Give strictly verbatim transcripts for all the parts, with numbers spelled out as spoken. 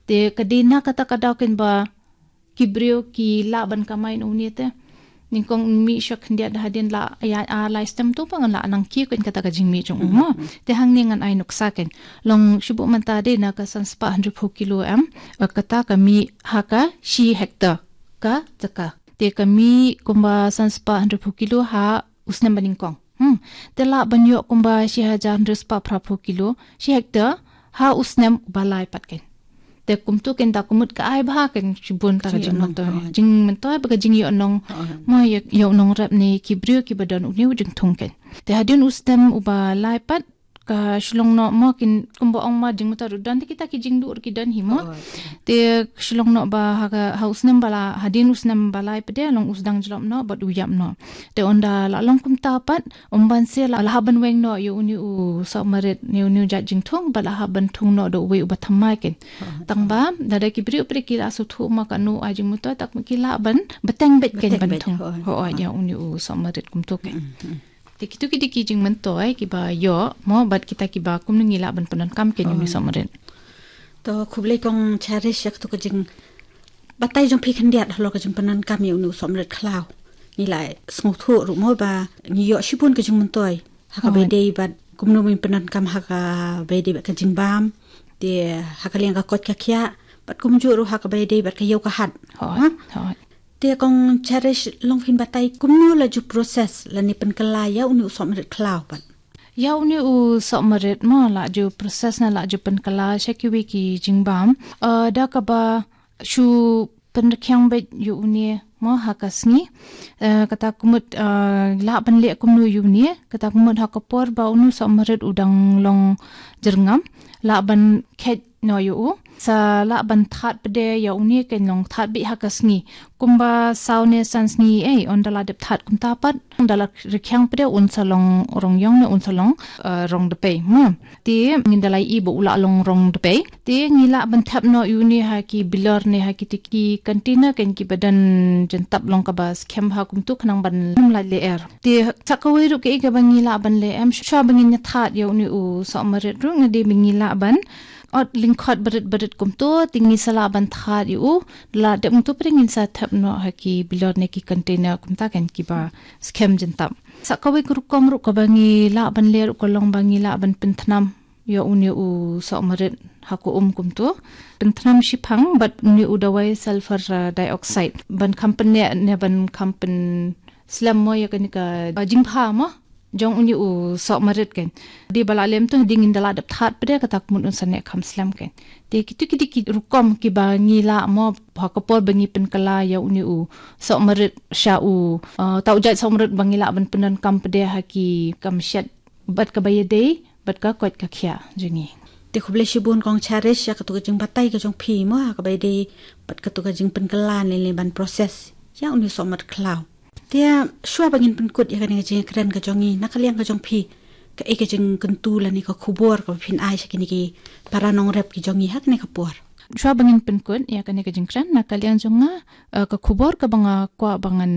Te ka dei na kata ka daw kein ba ki briew ki lah ban kamai na une te. Nyngkong mih sha khyndiat hadien la ïa, ah, lai snem tu ba ngan lah nang kiew kein kata ka jingmih jong u mo. Te hangne ngan ai nuksa kein. Long shibun mynta dei na ka san spah hynriew phew kilo em. Eh, kata ka mih ha ka shi hektar ka jaka. Te ka mih kumba san spah hynriew phew kilo ha u snem ba nyngkong. Hmm. Te lah ban ïoh kumba shi hajar hynriew spah phra phew kilo shi hektar ha u snem ba lai pat kein. Te kumtu kein da kumut ka ai bha kein shibun ta ka jingmyntoi. Jingmyntoi ba ka jingïoh nong. Mo ïoh, ïoh nongrep ne ki briew kiba don une u jingthung kein. Te hadien u snem uba lai pat ka shlong noh mo kein kumba ong ma jingmyntoi ruh don te kita ki jingduh ruh ki don hi mo. Te shlong noh ba ha ka, ha u snem ba la, hadien u snem ba lai pat de long u sdang jlop noh bad u ïap noh. Te ynda la long kumta pat, um ban se la, la hap ban weng noh ïa une u sohmarit ne une u jait jingthung, bad la hap ban thung noh da uwei uba thymmai kein. Tang ba, lada ki briew pat ki la sngewthuh ma kano ai jingmyntoi, te ki lah ban bteng beit kein ban thung. Hooid, ïa une u sohmarit kumtu kein. Te kitu ki dei ki jingmyntoi kiba ïoh mo bad kita kiba kumno ngi lah ban pyndonkam kein ïa une u sohmarit. To khublei kong Cherish ïa katu ka jing batai jong phi khyndiat halor ka jingpyndonkam ïa une u sohmarit khlaw. Ngi la sngewthuh ruh mo ba ngi ïoh shibun ka jingmyntoi ha kaba ïadei bad kumno ban pyndonkam ha kaba ïadei bad ka jingbam, te ha ka liang ka koit ka khiah, bad kumjuh ruh ha kaba ïadei bad ka ïew ka hat. Te kong Cherish long phin batai kumno la ju process lane pynkylla ïa une u sohmarit khlaw pat. Ïa une u sohmarit mo la ju process ne la ju pynkylla sha kiwei ki jingbam. Eh, da kaba shu pynrkhiang beit ïa une mo ha ka sngi. Eh, kata kumut, eh, lah ban leh kumno ïa une, kata kumut ha ka por ba une u sohmarit u dang long jyrngam, lah ban kheit noh ïa u. Sa lah ban thad pat de ïa une kein long thad beit ha ka sngi. Kumba saw ne san sngi ei, ynda la dep thad kumta pat, ynda la rkhiang pat de un sa long rong ïong ne un sa long, eh, rong dpei. Hmm. Te ngin da la ïohi ba u la long rong dpei. Te ngi lah ban thep noh ïa une ha ki bilor ne ha kiti ki container kein kiba don jyntap long kaba skhem bha kumtu khnang ban ym lait lyer. Te sa kawei ruh kaei kaba ngi lah ban leh em, shuwa ba ngin ïa thad ïa une u sohmarit ruh nga dei ba ngi lah ban ot lyngkhot barit barit kumtu, te ngi sa lah ban thad ïa u, la dep kumtu pat de ngin sa thep noh ha ki bilor ne ki container kumta kein kiba skhem jyntap. Sa kawei ka rukom ruh kaba ngi lah ban leh ruh ka long ba ngi lah ban pynthnam ïa une u sohmarit ha ka um kumtu. Pynthnam shiphang bad une u dawai sulfur, uh, dioxide. Ban kham pynneh ne ban kham pynslem mo ïa kane ka, uh, jingbha mo jong une u sohmarit kein. Dei ba la lem tu, dei ngin da la dep thad pat de kata kumut un sa neh kham slem kein. Te kitu ki dei ki rukom kiba ngi lah mo ha ka por ba ngi pynkylla ïa une u sohmarit sha u, uh, uta u jait sohmarit ba ngi lah ban pyndonkam pat de ha ki kam shet bad kaba ïadei bad ka koit ka khiah jong ngi. Te khublei shibun kong Cherish ïa katu ka jingbatai ka jong phi mo ha kaba ïadei bad katu ka jingpynkylla ne lane ban process ïa une u sohmarit khlaw. Te shuwa ba ngin pynkut ïa kane ka jingkren ka jong ngi na ka liang ka jong phi, kaei ka jingkyntu lane ka khubor kaba phin ai sha kine ki para nongrep ki jong ngi ha kane ka por. Shuwa ba ngin pynkut ïa kane ka jingkren na ka liang jong nga, eh, ka khubor kaba nga kwah ba ngan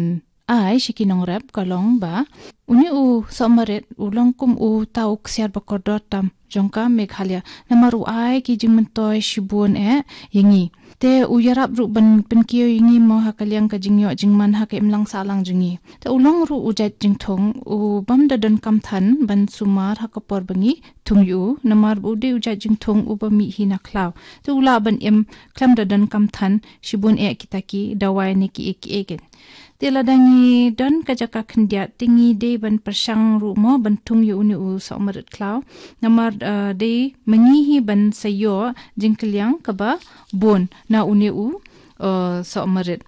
ai sha ki nongrep ka long ba une u sohmarit u long kum uta u ksiar ba kordor tam jong ka Meghalaya. Namar u ai ki jingmyntoi shibun eh ïa ngi. Te u ïarap ruh ban pynkiew ïa ngi mo ha ka liang ka jingïoh jingman ha ka imlang sahlang jong ngi. Te u long ruh u jait jingthung u bym da donkam than ban sumar ha ka por ba ngi thung ïa u. Namar ba u dei u jait jingthung uba mih hi na khlaw. Te u lah ban im khlem da donkam than shibun eh kita ki dawai ne kiei kiei kein. Te lada ngi don ka jaka khyndiat te ngi dei ban pyrshang ruh mo ban thung ïa une u sohmarit khlaw. Namar, eh, dei ma ngi hi ban sa ïoh jingkylliang kaba bun na une u, eh, sohmarit.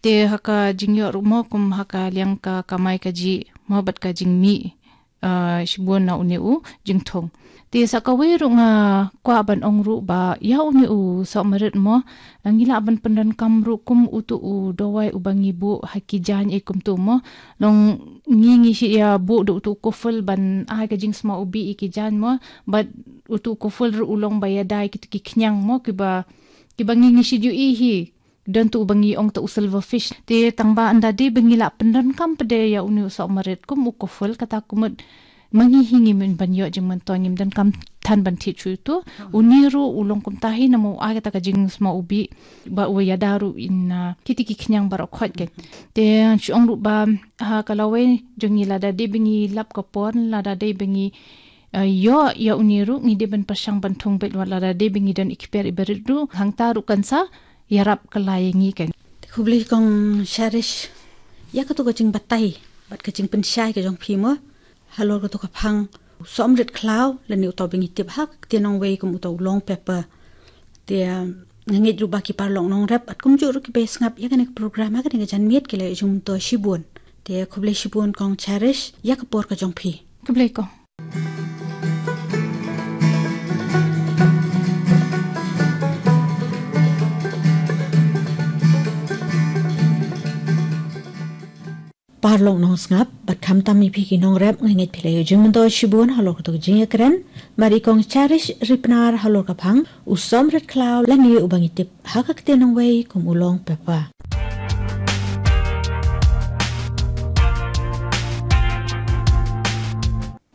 Te ha ka jingïoh ruh mo kum ha ka liang ka kamai kajih mo bad ka jingmih, ah, shibun na une u jingthung. Te sa kawei ruh nga kwah ban ong ruh ba ïa une u sohmarit mo, ngi lah ban pyndonkam ruh kum utu u dawai uba ngi buh ha ki jaiñ ei kumtu mo. Long ngi ngi shu ïa buh da utu u kuful ban ai ka jingsma u bih ïa ki jaiñ mo. Bad utu u kuful ruh u long ba ïadei kitu ki khñiang mo kiba, kiba ngi ngi shu ïohi hi. Don tu uba ngi ong tu u silverfish. Te tang ba ynda dei ba ngi lah pyndonkam pat de ïa une u sohmarit kum u kuful kata kumut ma ngi hi ngim ban ïoh jingmyntoi, ngim donkam than ban thied shuh ïa uto. Une ruh u long kumta hi namar u ai kata ka jingsma u bih ba u ïada ruh ïa, ah, kiti ki khñiang baroh khoit kein. Te shu ong ruh ba, ha ka lawei jong ngi lada dei ba ngi lap ka por, lada dei ba ngi, ah, ïoh ïa une ruh, ngi dei ban pyrshang ban thung beit, wat lada dei ba ngi don i kper i barit ruh, hangta ruh kan sa ïarap kylla ïa ngi kein. Khublei kong Cherish ïa kato ka jingbatai bad ka jingpynshai ka jong phi mo. Halor kato ka phang u Somrit Khlaw lane uto ba ngi tip ha ka ktien nongwei kum uto u long paper. Te, ah, nga ngeit ruh ba ki paralok nongrep bad kumjuh ruh kiba ïa sngap ïa kane ka program ha kane ka janmiet ki la ïoh jingmyntoi shibun. Te khublei shibun kong Cherish ïa ka por ka jong phi. Khublei kong. Paralok nongsngap bad khamtam ïa phi ki nongrep, nga ngeit phi la ïoh jingmyntoi shibun halor kato ka jingïakren bad i kong Cherish Ripnar halor ka phang u Somrit Khlaw lane uba ngi tip ha ka ktien nongwei kum u long paper.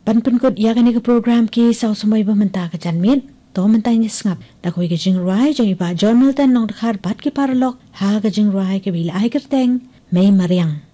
Ban pynkut ïa kane ka program ki saw samoi ba mynta ka janmiet, to mynta ngin sngap da kawei ka jingrwai jong i Bah John Milton Nongdkhar bad ki paralok ha ka jingrwai kaba la ai kyrteng Mei Mariang.